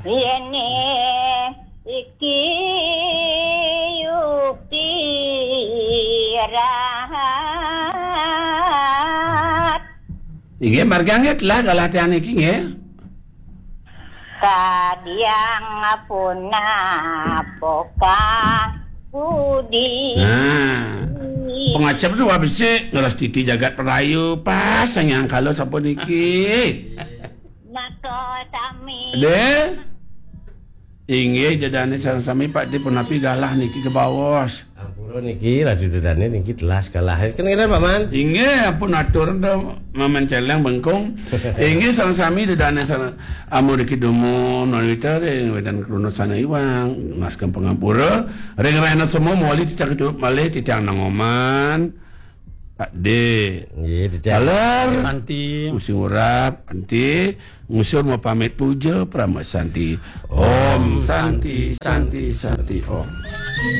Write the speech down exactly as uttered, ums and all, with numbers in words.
Yéné iki yukti rahat. Inggih, margi nggih telah galah tiang niki nggih. Kadiang punapa budi. Nah, pangacep tu wah besik, ngeras titi jagat perayu, pas sanghyang kala sampun niki. Maka sami. Deh. Inggih, Ida dané sareng sami Pak Dé punapi galah niki kebaos. Ampura niki, Ratu Ida dané niki telas galah. Kena-kena, Pak Man? Inggih, ampun atur dah, Maman Celeng bengkung. Inggih, sareng sami Ida dané sareng amun niki dumun, non wita, ring wedan kruna sana iwang, naskem pangampura, ring rahina semua mawali titiang tutup malih, titiang nangoman. Pak Dé. Nggih, titiang. Taler. Santi. Musi ngurap, anti. Ngusur mau pamit puja, parama santi. Om Santi, Santi, Santi, Om.